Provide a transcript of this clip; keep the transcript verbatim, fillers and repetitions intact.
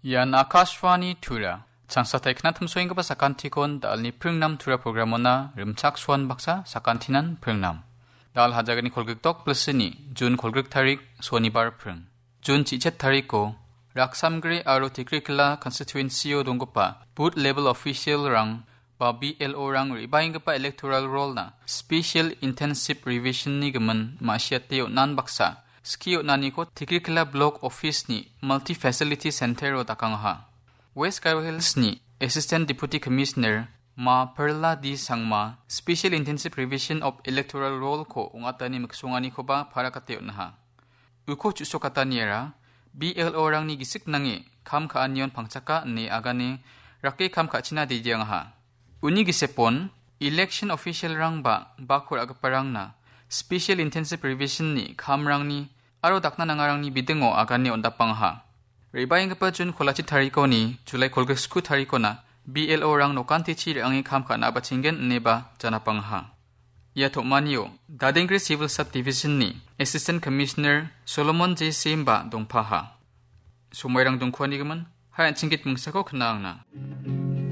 Ian Akashvani Tura. Changsatai knatimsoenggipa sakantikon dalni pringnam Tura programona rimchaksoan baksa sakantinan pringnam. Dal hajagani kolgrikdok plisini, Jun kolgrik tarik, Sonibar pring. Jun chichet tariko, Raksamgre aro Tikrikila constituency-o donggipa booth level official-rang ba B L O-rang re·baenggipa electoral roll-na special intensive revision-ni gimin ma·siate on·an baksa skie on·aniko Tikrikila Block Office-ni Multi Facility Center-o dakangaha. West Garo Hills-ni Assistant Deputy Commissioner Ma Perla D Sangma Special Intensive Revision of Electoral Roll-ko ong·atani miksonganikoba parakate on·aha. Uko chu·sokataniara B L O-rangni gisik nange kam ka·anion pangchaka ine agane rake kam ka·china didiangaha. Uni gisepon election official-rang ba bako ra·giparangna Special Intensive Revision-ni kamrangni aro dakna nangarangni bidingo agane on·dapangaha. Re·baenggipa Jun kolachi tarikoni Julai kolgrik sku tarikona B L O-rang nokantichi re·ange kam ka·na bachenggen ineba janapangaha. Ia tom·anio Dadengri Civil Subdivision-ni Assistant Commissioner Solomon J Simba dongpaha. Somoirang dongkuanigimin, hai an·ching git mingsako kna·angna.